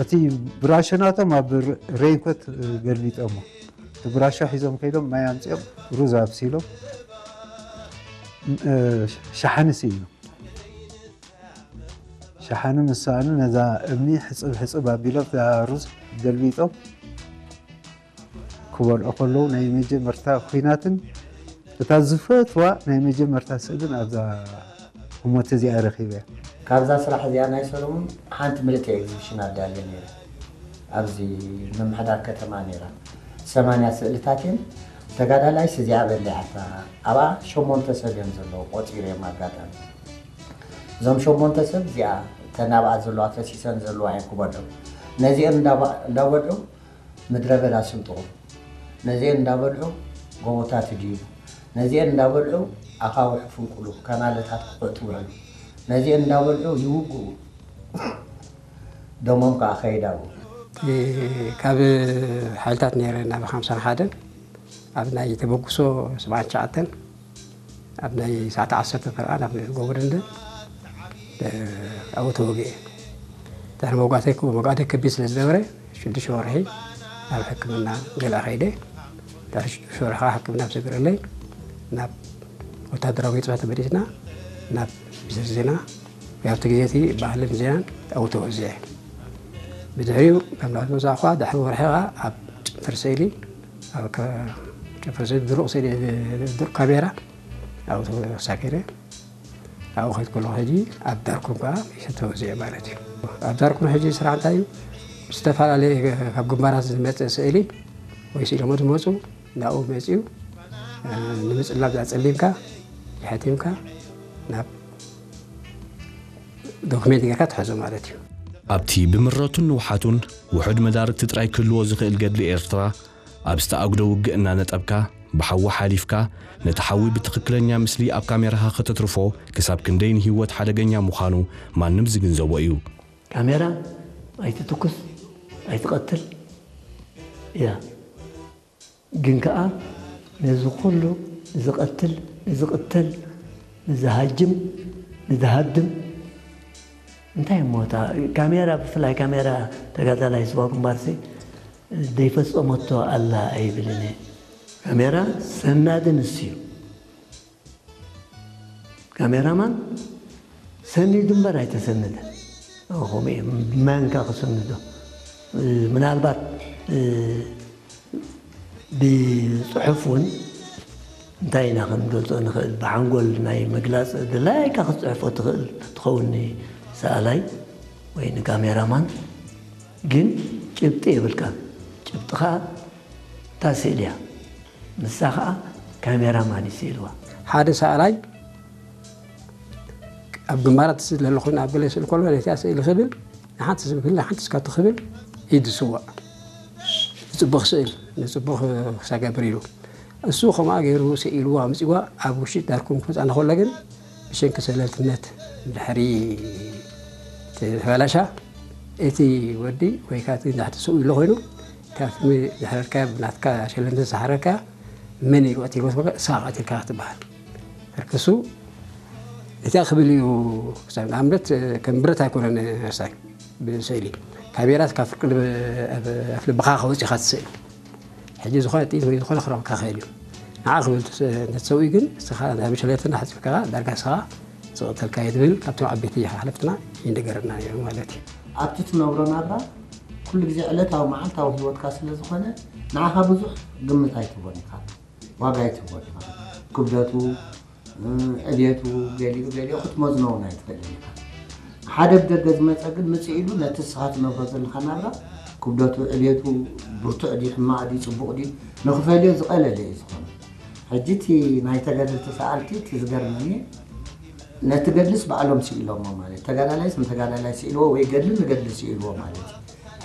እቲ ብራሾ ናቶም ኣብ ሬንኮት ገልቢጦሞ፣ እቲ ብራሾ ሒዞም ከይዶም ማይ ኣምፂኦም፣ ሩዝ ኣብሲሎም፣ ሸሓኒ ስኢኖም። ሸሓኒ ምስ ሰኣኑ ነዛ እምኒ ሕፅብ ሕፅብ ኣቢሎም እዛ ሩዝ ገልቢጦም ክበልዑ ከለዉ፣ ናይ መጀመርታ ኲናትን እታ ዝፈትዋ ናይ መጀመርታ ስእልን ኣብዛ ህሞት እዚኣ ረኺበ። ካብዛ ስራሕ እዚኣ ናይ ሰለሙን ሓንቲ ምልእቲ ኤግዚቢሽን ኣዳልየ ነይረ። ኣብዚ ምምሕዳር ከተማ ነይራ። ሰማንያ ስእልታት እየን። ተጋዳላይስ እዚኣ በሊዓታ። ኣብኣ ሸሞንተ ሰብ እዮም ዘለዉ፣ ቆፂረ እዮም ኣጋጣሚ። እዞም ሸሞንተ ሰብ እዚኣ እተን ኣብኣ ዘለዋ ፈሲሰን ዘለዋ እየን ክበልዑ። ነዚአን እንዳባ-፣ እንዳበልዑ ምድረ በዳ ስንጥቑ። ነዚአን እንዳበልዑ ጎቦታት ድዩ። ነዚአን እንዳበልዑ ኣኻውሕ ፍንቁሉ፣ ካናለታት ክኹዕቱ ውዕሉ። ነዚአን እንዳበልዑ ይውግኡ። ደሞም ከዓ ከይድ ኣብኡ። እቲ ካብ ሓይልታት ነይረ ናብ ሓምሳን ሓደን ኣብ ናይ ተበግሶ ሰብዓን ትሽዓተን ኣብ ናይ ሰዓት ዓሰርተ ፈረቓ ናብ ጎቦ ደንደን ኣብኡ ተወጊኤ። ድሕሪ መውጋእተይ፣ መውጋእተይ ከቢድ ስለ ዝነበረ ሽዱሽተ ወርሒ ናብ ሕክምና ገለ ከይደ። ድሕሪ ሽዱሽተ ወርሒ ከዓ ሕክምና ምስ ተገበረለይ ናብ ወታደራዊ ቤት ጽሕፈት ተመሊስና ናብ ሚኒስትሪ ዜና፣ ኣብቲ ግዜ እቲ ባህልን ዜናን ኣብኡ ተወዚዐ። ብድሕሪኡ ካብ ናብቲ መጻእኳ ድሕሪ ወርሒ ከዓ ኣብ ጨንፈር ስእሊ፣ ኣብ ከ-፣ ጨንፈር ስእሊ ድሩቕ ስእሊ፣ ድሩቕ ካሜራ ኣብኡ ተሳፊረ። ኣብኡ ከይድ ከለኹ ሕጂ ኣብ ዳርኩም ከዓ ተወዚዐ ማለት እዩ። ኣብ ዳርኩም ሕጂ ስራሕ እንታይ እዩ? ዝተፈላለየ ካብ ግንባራት ዝመጽእ ስእሊ ወይ ስኢሎሞ ዝመጹ ናብኡ መጺኡ፣ እ፣ ንምጽላብ ኣጸሊምካ፣ የሕቲምካ ናብ ዶክሜንት ጌርካ ትሕዞ ማለት እዩ። ኣብቲ ብምረቱን ንውሓቱን ውሑድ መዳርግቲ ጥራይ ክህልዎ ዝኽእል ገድሊ ኤርትራ፣ ኣብ ዝተኣግዶ ውግእ እናነጠብካ፣ ብሓዊ ሓሊፍካ፣ ነቲ ሓዊ ብትኽክለኛ ምስሊ ኣብ ካሜራኻ ከተትርፎ፣ ክሳብ ክንደይ ንህይወት ሓደገኛ ምዃኑ ማንም ዝግንዘቦ እዩ። ካሜራ ኣይትትኩስ፣ ኣይትቐትል እያ። ግን ከኣ ነዚ ኩሉ ንዝቐትል፣ ንዝቕተል፣ ንዝሃጅም፣ ንዝሃድም እንታይ እሞ እታ ካሜራ፣ ብፍላይ ካሜራ ተጋዳላይ ዝዋ ግንባርሲ ዘይፈጸመቶ ኣላ ኣይብልን እየ። ካሜራ ሰናዲ ንሱ እዩ። ካሜራማን ሰኒዱ እምበር ኣይተሰነደን። ከምኡ እዩ። መን ከ ክስንዶ? ምናልባት፣ እ፣ ብጽሑፍ እውን እንታይ ኢና ክንገልጾ ንኽእል? ብሓንጎል ናይ ምግላጽ ድላይካ ክትጽሕፎ ትኽእል ትኸውን፣ ንሰኣላይ ወይ ንካሜራማን። ግን ጭብጢ የብልካን። ጭብጥኻ እታ ስእሊ እያ። ንሳ ኸኣ ካሜራማን እዩ ስኢልዋ። ሓደ ሰኣላይ ኣብ ግንባራት ስለ ዘሎ ኮይኑ ኣብ ገለ ስእሊ ከሎ ነቲኣ ስእሊ ክብል ንሓንቲ ስም ክብል ንሓንቲ ስካቱ ክብል ኢድ ዝስዋእ ንጽቡቕ ስእል ንጽቡቕ ክሳገብር ኢሉ እሱ ከምኣ ገይሩ ስኢልዋ ኣምጺዋ ኣብ ውሽጢ ዳርኩም ክመጻ እንከሎ ግን ብሰንኪ ሰለልትነት ድሕሪ ተበላሻ እቲ ወዲ ወይ ከዓ እቲ ንድሕቲ ስኡ ኢሎ ኮይኑ ካብቲ ዝሕረድካያ ብናትካ ሸለምቲ ዝሓረድካያ መን እዩ ቀቲልዎ ትብልካ እሳ ቀቲልካ ክትበሃል ተርከሱ እቲኣ ክብል እዩ። ክሳብ ንኣብነት ከም ብረት ኣይኮነን እርሳይ ብስእሊ ካሜራ ካብ ፍርቂ ልብ- ኣብ ኣፍ ልብኻ ከወፂኻ ትስእል ሕጂ ዝኾነ ጥይት ወይ ዝኾነ ክረብካ ክእል እዩ። ንዓ ክብል ተሰውኢ ግን እስኻ ናብ ሸለልትና ሓፂብካ ዳርጋ እስኻ ዝቐተልካ እዩ ትብል ካብቶም ዓበይቲ ሓለፍትና ይንገረና ነይሩ ማለት እዩ። ኣብቲ ትነብሮ ናብራ ኩሉ ግዜ ዕለታዊ መዓልታዊ ህይወትካ ስለ ዝኾነ ንዓኻ ብዙሕ ግምት ኣይትህቦን ኢኻ፣ ዋጋ ኣይትህቦን ኢኻ። ክብደቱ፣ እ፣ ዕብየቱ፣ ገሊኡ ገሊኡ ክትመዝኖ እውን ኣይትኽእልን ኢኻ። ሓደ ብደገ ዝመጸ ግን ምጽእ ኢሉ ነቲ እስኻ ትነብሮ ዘለኻ ናብራ ክብደቱ፣ ዕብየቱ፣ ብርቱዕ ድዩ፣ ሕማቕ ድዩ፣ ጽቡቕ ድዩ ንኽፈልዮ ዝቐለለ እዩ ዝኾነ። ሕጂ እቲ ናይ ተጋደልቲ ሰኣልቲ እቲ ዝገርመኒ ነቲ ገድልስ ባዕሎም ስኢሎሞ ማለት ተጋዳላይስ ንተጋዳላይ ስኢልዎ ወይ ገድሊ ንገድሊ ስኢልዎ ማለት እዩ።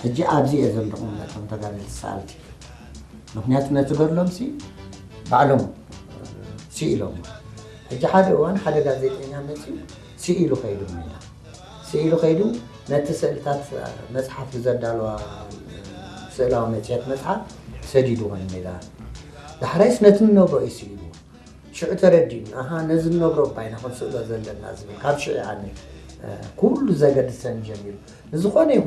ሕጂ ኣብዚ እየ ዘለኹም ነቶም ተጋደልቲ ሰኣልቲ ምክንያቱ ነቲ ገድሎም ሲ ባዕሎም ስኢሎም ሕጂ ሓደ እዋን ሓደ ጋዜጠኛ መፅኡ ስኢሉ ከይዱ ሜዳ ስኢሉ ከይዱ ነቲ ስእልታት መፅሓፍ ብዘዳለዋ ስእላዊ መፅሄት መፅሓፍ ሰዲድዎ ሜዳ ዳሕራይስ ነቲ ንነብሮ እዩ ስኢልዎ ሽዑ ተረዲኡኒ ኣሃ ነዚ ንነብሮ እባ ኢና ክንስእሎ ዘለና ዝብል ካብ ሽዑ ኣነ ኩሉ ዘገድሰኒ ጀሚሩ ንዝኾነ ይኹን